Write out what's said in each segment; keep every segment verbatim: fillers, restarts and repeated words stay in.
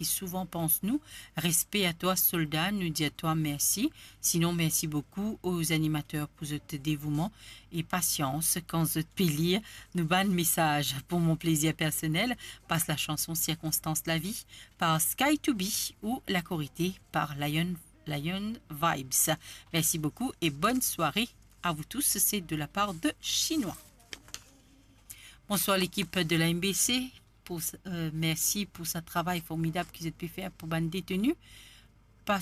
ki souvan pans nou. Respe a twa, solda, nou dir twa mersi. Sinon, mersi boukou aux animateurs pou zot devouman e pasians kan zot pe lir nou bann mesaz. Pour mon plaisir personnel, passe la chanson Circonstances de la vie par Sky to Be ou La Korite par Lion, Lion Vibes. Merci beaucoup et bonne soirée à vous tous. C'est de la part de Chinois. Bonsoir l'équipe de la M B C. Pour, euh, merci pour ce travail formidable ki zot pe fer pou bann deteni. Par,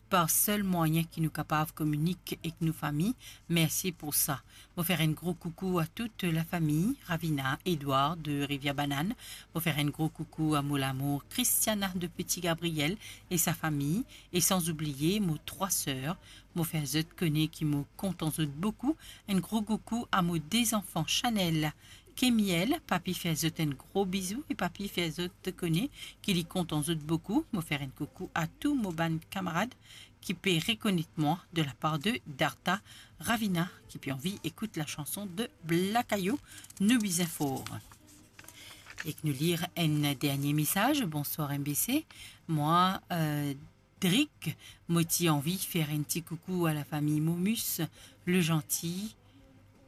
par sel mwayin ki nou kapav kominik ek nou fami. Mersi pou sa. Mo fer enn gro koukou a tout lafami Ravina, Edouard de Rivière Banane. Mo fer enn gro koukou a mo lamour Christiana de Petit Gabriel e sa fami, e san oubliye mo trwa ser. Mo fer zot kone ki mo kontan zot boukou. Enn gro koukou a mo de zanfan Chanel, Kemiel. Papi fer zot enn gro bizou e papi fer zot kone ki li kontan zot boukou. Mo fer enn koukou a tou mo bann kamarad ki pe rekonet mwa de la par de Darta Ravina, ki pe anvi ekout la chanson de Blakayo, Nou Bizin For. Ek nou lir enn dernie mesaz. Bonsoir M B C. Mwa, euh, Drik, mo ti anvi fer enn ti koukou a lafami Momus, Le Gentil,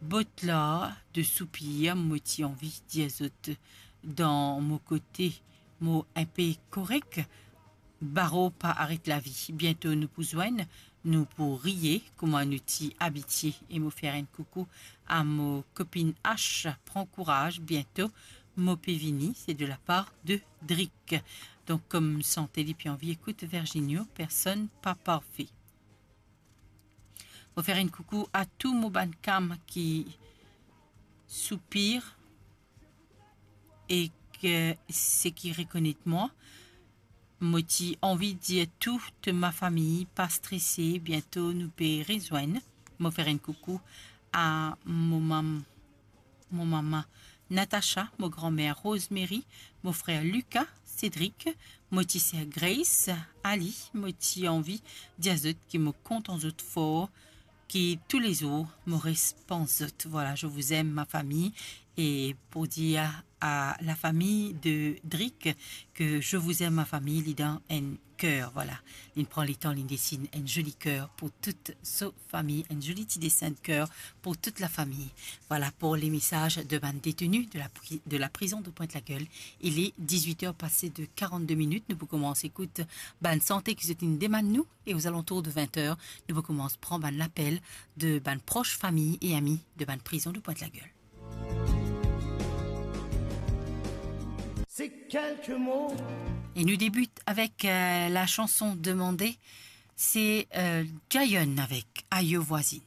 Botla de Soupir. Mo ti anvi dir zot dan mo kote mo inpe korek. Baro pa aret lavi. Biento nou pou zwenn, nou pou riye kouma nou ti abitie. E mo fer enn koukou a mo kopinn H, pran kouraz, biento mo pe vini. Se de la par de Drik. Donk, kom sante li pe anvi ekout Virginio, Personne pas parfait. Mo fer enn koukou a tou mo bann kam ki soupir e ki, seki rekonet mwa. Mo ti anvi dir tout ma fami, pa strese, biento nou pe rezwenn. Mo fer enn koukou a mo mam-, mo mama Natacha, mo granmer Rosemary, mo frer Luca, Cédric, mo ti ser Grace, Ali. Mo ti anvi dir zot ki mo kontan zot for, ki toulezour mo res pans zot. Voilà, je vous aime, ma famille. Et pour dire à la famille de Drik que je vous aime, ma famille, li dan enn ker, voilà. Li pran letan, li desinn enn zoli ker pou tout so fami, enn zoli ti desin de ker pou tout lafami. Voilà pour les messages de bann deteni de la pri-, de la prison de Pointe-la-Gueule. Il est dix-huit heures passées de quarante-deux minutes. Nou pou koumans ekout bann sante ki zot inn demann nou. E aux alentours de vingt heures, nou pou koumans pran bann lapel de bann pros fami e ami de bann prizon de Pointe-la-Gueule. Ces quelques mots. E nou debit avek, euh, la chanson demandée, c'est, euh, Giant avec Ayo Voisine.